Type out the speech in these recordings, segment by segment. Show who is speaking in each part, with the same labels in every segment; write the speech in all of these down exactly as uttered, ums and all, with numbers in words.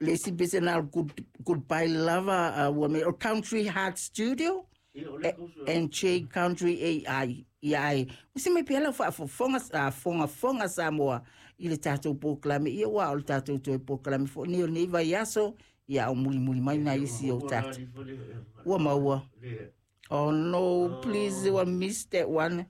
Speaker 1: Le isi pese na o le good, Goodbye Lover, uh, ua mea o Country Heart Studio and J Country A I. Ia ai, usi mai pea lau faafofoga, faafogafoga Samoa i le tatou polokalame, ia ua o le tatou toe polokalame foi nei o lenei vaiaso, ia a o mulimuli mai nai isi o tatou. Ua maua. Oh no, please, ua miss that one.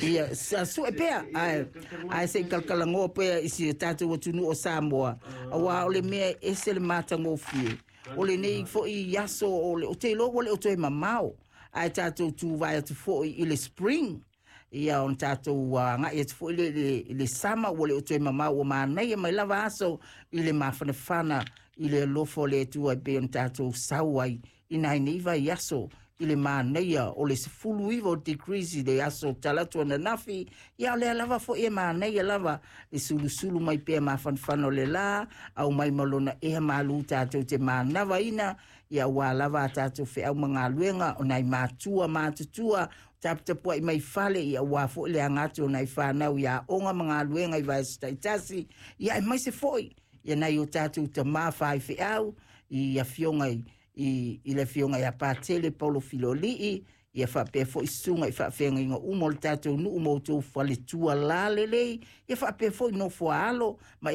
Speaker 1: Ia, sa sue pea, ae, ae se i kalakalagoa pea i si o tatou atunuu o Samoa, auā o le mea e ese le matagofie, o lenei foi aso o le, ou te iloa ua le o toe mamao, ae tatou tuvae atu foi i le spring, ia ona tatou agai atu foi lea i le, i le summer, ua le o toe mamao, ua manaia mai lava aso i le mafanafana i le alofa o le Atua e pei ona tatou sau ai i nai nei vaiaso i le manaia o le sefulu iva o degrees i le aso Talatu ananafi, ia o lea lava foi e manaia lava le sulusulu mai pea mafanafana o le lā, aumai ma lona ea malū tatou te manavaina, ia aua lava a tatou feau ma galuega o nai matua matutua taputapuai mai fale, ia aua foi le aga atu o nai fanau i aoga ma galuega i vaiaso taitasi, ia aemaise foi ia nai o tatou tamā faifeau i afioga i i, i le afioga ia Patele Paulo Filolii, ia faapea foi susuga i faafeagaiga uma o le tatou nuu ma outou faletua lalelei, ia faapea foi nofo a alo ma